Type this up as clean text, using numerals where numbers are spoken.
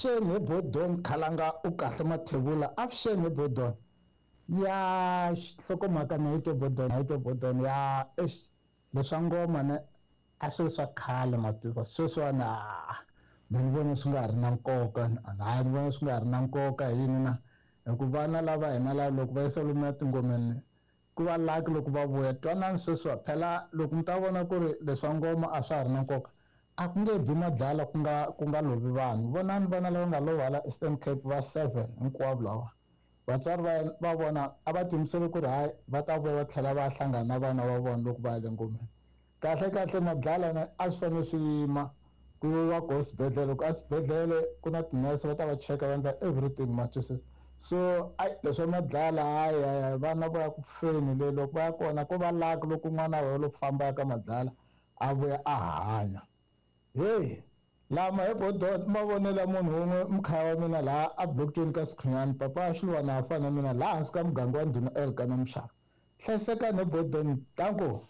Avuxeni he Bodon Khalanga u kahle Mathebula avuxeni he Bodon ya nhlokomhaka na yi twa Bodon yi twa Bodon ya eish leswa ngoma ne a swi ri swa khale mativa sweswiwani a me ni vona swi nga ha ri na nkoka hayi ni vona swi nga ha ri na nkoka hi yini na hi ku vana lava hina lava loko va yisa lomuya tingomeni ku va lucky loko va vuya twanani sweswiwa phela loko mi ta vona ku ri leswa ngoma a swa ha ri na nkoka a ku nge bi madlala ku nga ku nga lovi vanhu vonani vana lava nga lova hala Eastern Cape va 7 hinkwavo lava vatswari va va vona a va tiyimisele ku ri hayi va ta vuya va tlhela va hlangana na vana va vona loko va ya le ngomeni kahle kahle madlala na a swi fanele swi yima ku yiwa ko swibedhlele loko a swibedhlele ku na tinese va ta va cheka va endla everything maswisisa so ayi leswa madlala hayi hayi vana va ya ku feni le loko va ya kona ko va lucky loko n'wana wa lo famba ya ka madlala a vuya a hanya heyi lama hi bodot mavonelo ya munhu wun'we mukhaya wa mina laha a blockchain ka Sikhunyani papa Xilwana a fana na mina laha hansi ka muganga wa Ndhuna Elkana Mshana hlayisekani hi bodon danko.